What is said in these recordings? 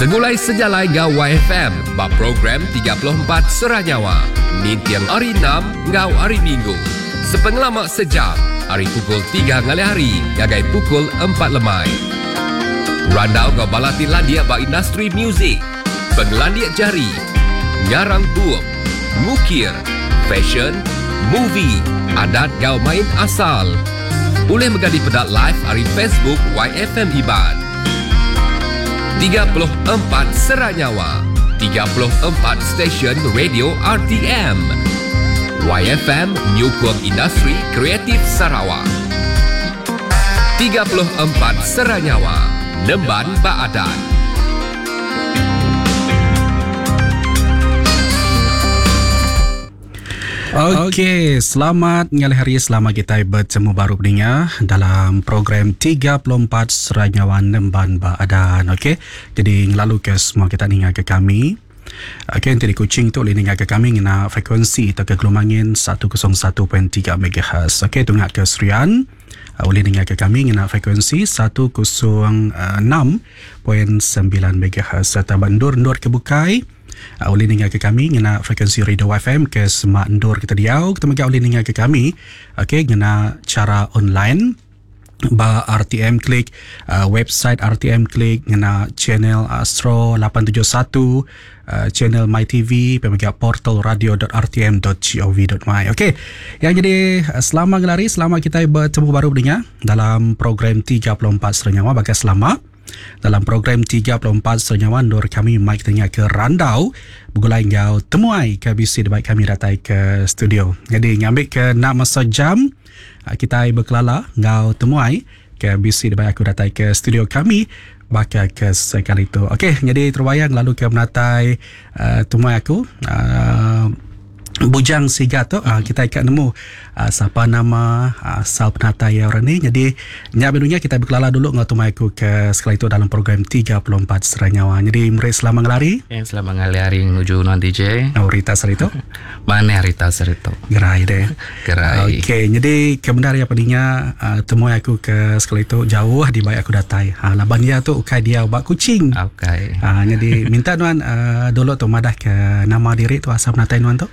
Segulai sejalai enggau YFM ba program 34 Serah Nyawa ninting Hari Enam enggau Hari Minggu sepengelama sejam ari pukul tiga ngalih hari ngagai pukul empat lemai. Randau enggau bala ti landik ba industri muzik, pengelandik jari, ngarang bup, ngukir, fashion, movie, adat enggau main asal. Ulih mega dipeda live ari Facebook YFM Iban. 34 Sera Nyawa, 34 stesen radio RTM. YFM nyukung industri kreatif Sarawak. 34 Sera Nyawa, nemban ba adat. Okey, selamat ngalih hari selama kitai betemu baru peninga dalam program 34 Serai Nyawa Nemban Ba Adan. Okey, jadi ngelalu ke semua kita ninga ke kami. Okey, enti di Kuching tu boleh ninga ke kami ngena frekuensi tauka gelombang angin 101.3 MHz. Okey, tunga ke Serian boleh ninga ke kami ngena frekuensi 106.9 MHz serta ba endur-endur ke bukai. Ulih ninga ke kami ngena frekuensi radio FM ke semak endur kita diau. Kita mega ulih ninga ke kami okey ngena chara online ba RTM Click uh, website RTM Click ngena channel Astro 871 uh, channel My TV pemega portal radio.rtm.gov.my. Okey. Yang jadi uh, selama ngelari selama kita bertemu baru berdengar dalam program 34 Serenyawa bagai selama Dalam program 34 Senyawa endur kami mai kita ke randau begulai enggau temuai ke bisi dibai kami datai ke studio. Jadi ngambi ke enda masa jam ah, kitai bekelala enggau temuai ke bisi dibai aku datai ke studio kami baka ke sekali tu. Okey, jadi terbayang lalu ke menatai uh, temuai aku uh, Bujang Siga tu uh, kita ikat nemu uh, sapa nama uh, asal penatai ya orang ni. Jadi nya benunya kita berkelala dulu ngau tumai aku ke sekali tu dalam program 34 Serai Nyawa. Jadi meri selamat ngelari. Yang selamat ngelari menuju nuan DJ. Oh, Rita Serito. Mana Rita Serito? Gerai deh. Gerai. Okey, jadi kebenar ya peninga uh, temui aku ke sekali tu jauh di baik aku datai. Ha, laban dia tu ukai dia ubat kucing. Okey. Ha, jadi minta nuan uh, dulu tu madah ke nama diri tu asal penatai nuan tu.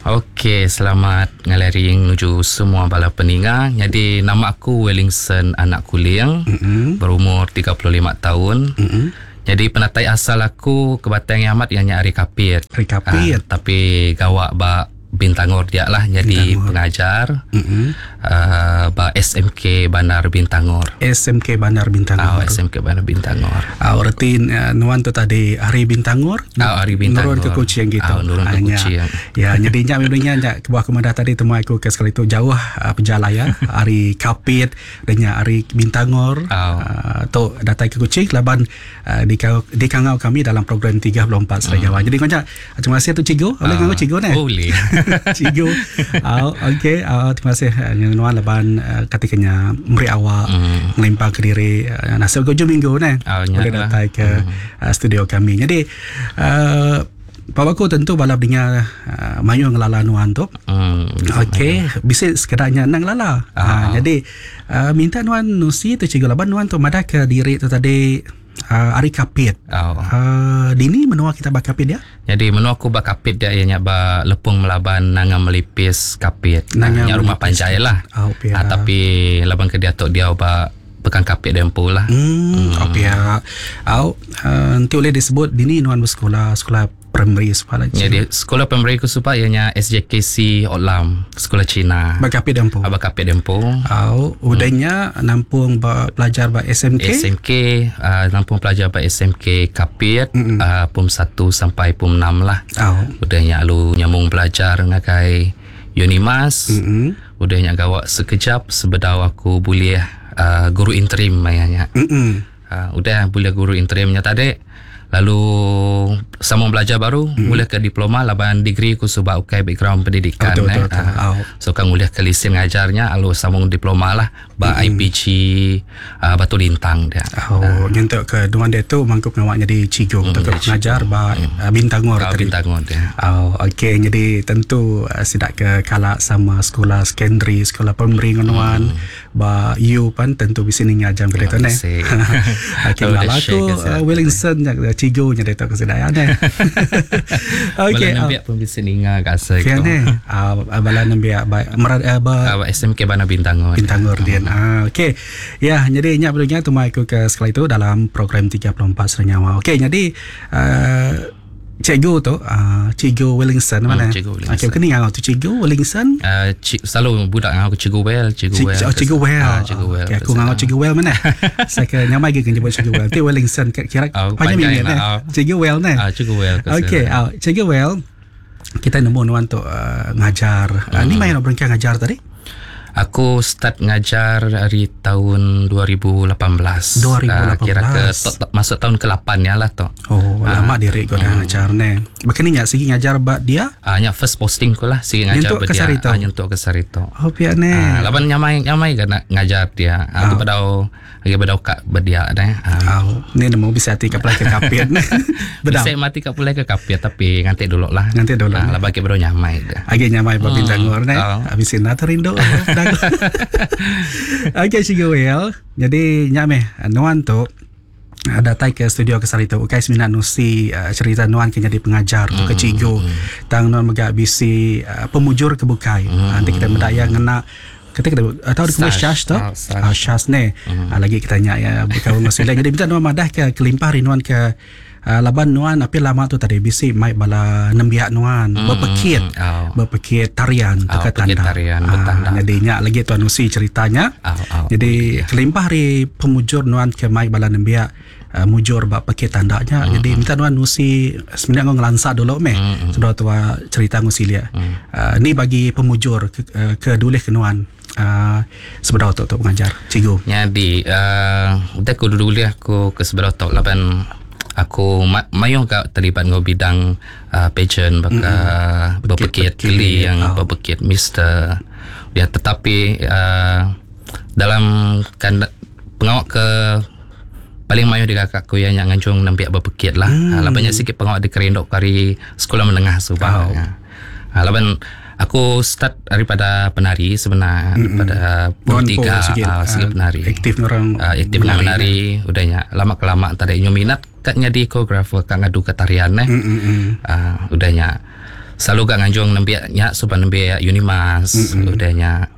Okey, selamat ngalari menuju semua bala peninga. Jadi nama aku Wellingson anak Kuling, mm-hmm. berumur 35 tahun. Mm-hmm. Jadi penatai asal aku ke Batang Amat ianya Ari Kapit. Ari Kapit. Ha, tapi gawak ba Bintangor dia lah jadi Bintangor. pengajar mm-hmm. uh, ba SMK Bandar Bintangor. SMK Bandar Bintangor. Oh, SMK Bandar Bintangor. Ah, berarti uh, nuan tu tadi Hari Bintangor. Oh, Hari Bintangor. Nurun ke Kuching gitu. Oh, nurun ke Kuching. Ya, jadi nya memangnya nya kebuah aku madah tadi temu aku ke sekali tu jauh uh, penjalai ya. Hari Kapit dan nya Hari Bintangor. Oh. Uh, tu datai ke Kuching laban uh, di di kangau kami dalam program 34 Serai Jawa. Jadi kau terima kasih tu cikgu. Boleh uh, cikgu ni? Boleh. Cikgu. Uh, okey, uh, terima kasih uh, nuan laban uh, ketikanya meri awak mm. ngelimpang ke diri uh, nasib ke minggu ni. Oh, boleh datang ke mm. uh, studio kami. Jadi uh, Pak Baku tentu balap dengar uh, mayu ngelala nuan tu. Mm, Okey, bisa sekedarnya nang lala. Ah. Uh, jadi uh, minta nuan nusi tu cikgu laban nuan tu madah ke diri tu tadi uh, Ari Kapit. Oh. Uh, dini menua kita bak Kapit ya? Jadi menua aku bak Kapit dia ianya ba Lepung Melaban Nanga Melipis Kapit. Nanga Nya rumah Melipis. panjai lah. Oh, pia. Ah, tapi laban ke dia tu dia ba pekan Kapit dia empu lah. Hmm, hmm. Oh, pia. Au, uh, nanti boleh disebut dini nuan bersekolah sekolah primary sekolah. Jadi sekolah primary aku supa ianya SJKC Olam, sekolah Cina. Bak Kapit dia empu. Abang Kapit dia empu. Au, udahnya nampung ba, pelajar ba SMK. SMK uh, nampung pelajar ba SMK Kapit mm uh, pum 1 sampai pum 6 lah. Au. Udahnya lalu nyambung belajar ngagai Unimas. Mm-mm. Udahnya gawak sekejap sebedau aku boleh uh, guru interim mayanya. Mm-mm. Uh, udah boleh guru interimnya tadi. Lalu sambung belajar baru mm. boleh ke diploma laban degree aku sebab ukai background pendidikan Betul, eh. betul, betul. Ah, Au. So kan boleh ke lesen ngajarnya lalu sambung diploma lah ba ba IPG Batu Lintang dia. Oh, nyentuk ke nuan diatu mangku pengawa nyadi cikgu tauka pengajar ba Bintangor tadi. Bintangor dia. Oh, okey nyadi tentu sida ke kala sama sekula secondary, sekula primary enggau nuan ba U pan tentu bisi ninga jam ke ditu neh. Okey ngelala aku Willingson nya cikgu nya ditu ku sida iya neh. Okey. Bala nembiak pun bisi ninga ga asai ku. Neh. Bala nembiak ba ba SMK Bandar Bintangor. Bintangor din. Ah okey. Ya nyadi nya bulu nya tumai aku ke sekali tu dalam program 34 Serenyawa. Okey nyadi uh, cikgu tu uh, cikgu Wellingson mana? Cikgu Wellingson. Okey kini ngau tu cikgu Wellingson. Uh, cik, selalu budak ngau cikgu Well, cikgu Well. Oh, cikgu Well. Ah, cikgu Well. Okey aku ngau cikgu Well mana? Saya ke nyamai ke nyebut cikgu Well. Ti Wellingson kira oh, panjang ni. Oh. Cikgu Well ne. Ah, cikgu Well. Okey, oh, cikgu Well. Kita nemu nuan tu uh, ngajar. Uh, ni maya nak berengkah ngajar tadi? Aku start ngajar dari tahun 2018. 2018. Kira ke masuk tahun ke-8 ya lah tu. Oh, lama diri kau dah ngajar ne. Bahkan ni sigi ngajar ba dia? Ah, nya first posting ku lah sigi ngajar ba dia. Ah, nyentuk ke Sarito. Oh, pia ne. Ah, laban nyamai nyamai ke nak ngajar dia. Aku bedau lagi bedau kak bedia ne. Ah, ni nemu bisa hati ke pulai ke kapit. Bedau. Bisa mati ke pulai ke kapit tapi nganti dulu lah. Nganti dulu. Ah, laban ke bedau nyamai dah. Agi nyamai ba Bintangor ne. Habis ina terindu. Okey Cikgu Will. Jadi nya meh nuan tu datai ke studio ke sehari tu ukai semina nusi cerita nuan ke nyadi pengajar tu ke cikgu tang nuan mega bisi pemujur ke bukai. Enti kita meda iya ngena kata kita atau di Syas tu. Syas ne. Lagi kita nya ya bekaul enggau sila. Jadi minta nuan madah ke kelimpah ari nuan ke laban nuan api lama tu tadi bisi mai bala nembiak nuan bepekit bepekit tarian oh, teka tanda. Tarian, betanda. Jadi nya lagi tuan nusi ceritanya. Jadi kelimpah ari pemujur nuan ke mai bala nembiak mujur ba pekit tanda nya. Jadi minta nuan nusi sebenarnya ngau ngelansa dulu meh. Sudah tua cerita ngusi lia. Ni bagi pemujur ke, ke dulih ke nuan. Sebedau tu tu pengajar cikgu. Jadi udah aku dulu aku ke sebedau tu laban aku mayuh gak terlibat dengan bidang pageant baka berpekit keli yang berpekit mister dia, tetapi dalam kan pengawak ke paling mayuh di kakak aku yang nganjung nembiak berpekit lah. Lah banyak sikit pengawak di kerindok kari sekolah menengah subah. Laban aku start daripada penari sebenarnya, daripada pun tiga segi penari. Aktif orang aktif menari, menari udahnya lama kelamaan tadi nyu minat kat nyadi koreografer kat ngadu ke tarian eh. Udahnya selalu gak nganjung nembiaknya supaya nembiak Unimas udahnya.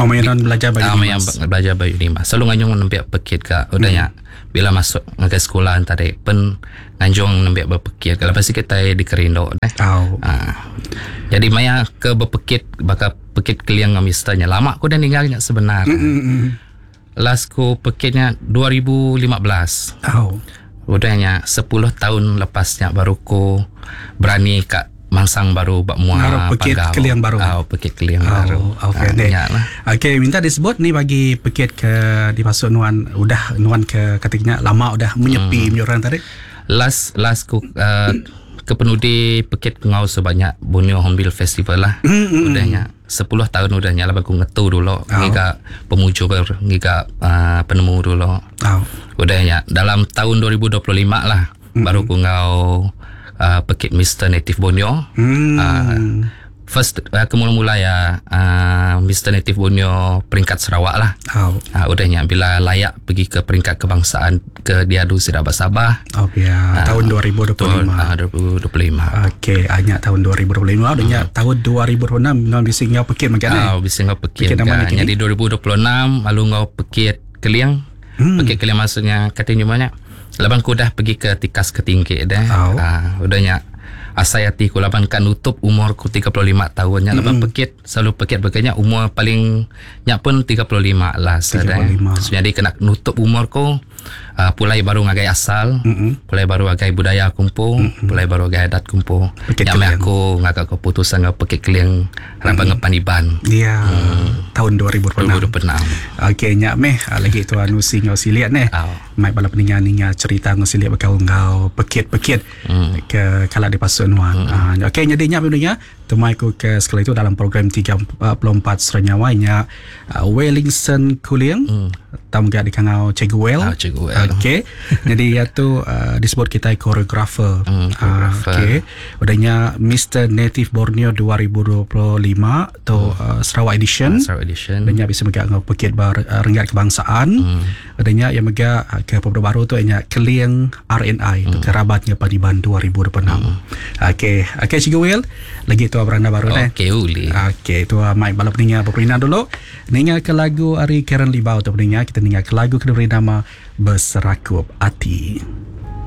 Oh, main belajar ba Unimas. Belajar ba Unimas. Selalu nganjung nembiak pekit ka udahnya. Bila masuk ke sekolah tadi pen nganjung nembiak berpekit kalau pasti kita dikerindok deh. Jadi maya ke berpekit bakal pekit keliang dengan misternya lama aku dah ninggalnya sebenar. Last ku pekitnya 2015. Udahnya 10 tahun lepasnya baru ku berani kat mansang baru bak mua pekit keliang baru. Pekit keliang baru. Okey. Okey, minta disebut ni bagi pekit ke dimasuk nuan udah nuan ke katanya lama udah menyepi mm. orang tadi. Last last ku ke penudi pekit ngau sebanyak Borneo Hornbill Festival lah. Udahnya 10 tahun udahnya lah aku ngetu dulu ngiga pemujur ngiga penemu dulu. Udahnya dalam tahun 2025 lah baru ku ngau pekit Mr. Native Borneo. First aku mula-mula ya Mr. Native Borneo peringkat Sarawak lah. Udahnya bila layak pergi ke peringkat kebangsaan ke diadu Sarawak Sabah. Oh ya, tahun 2025. Tahun 2025. Okey, hanya tahun 2025 udahnya tahun 2026 ngau bisi ngau pekit makan eh. Bisi ngau pekit. Jadi 2026 lalu ngau pekit Keliang. Pekit Keliang maksudnya katanya banyak. Laban ku dah pergi ke tikas ketinggi dah. Udahnya asai hati ku laban kan nutup umur ku 35 tahunnya. Laban pekit selalu pekit berkanya umur paling nyak pun 35 lah. 35. So, jadi kena nutup umur ku uh, pulai baru ngagai asal, mm-hmm. pulai baru ngagai budaya aku empu, mm-hmm. pulai baru ngagai adat aku empu. Nya meh aku ngaga keputusan enggau pekit keling raban mm. ngepan Iban. Ya. Tahun 2026. 2026. Okey nya meh ah, lagi tuan Usi enggau Silik neh. Oh. Mai bala peninga ninga cerita enggau Silik bekaul enggau pekit-pekit mm. ke kala dipasuk nuan. Mm. Uh, Okey jadi nya peninga Temai ku ke sekali tu dalam program 34 Seranyawa nya uh, Wellington Kuling mm. tau mega dikangau Cikgu Well. Ah, Cikgu Well. Okey. Jadi ia tu uh, disebut kita koreografer. Koreografer. Uh, Okey. Udah nya Mr Native Borneo 2025 tu mm. uh, Sarawak Edition. Sarawak Edition. Udah nya bisa mega ngau pekit bar uh, renggat kebangsaan. Mm. Udah nya ia mega uh, ke pemuda baru tu nya Keling RNI mm. tu kerabatnya Padiban 2026. Mm. Okey, okey Cikgu Will. Lagi tua beranda baru deh. Okey uli. Okey, tua mai bala peninga berperindang dulu. Ninga ke lagu ari Karen Libau tu peninga, kita ninga ke lagu ke diberi nama Beserakup Ati.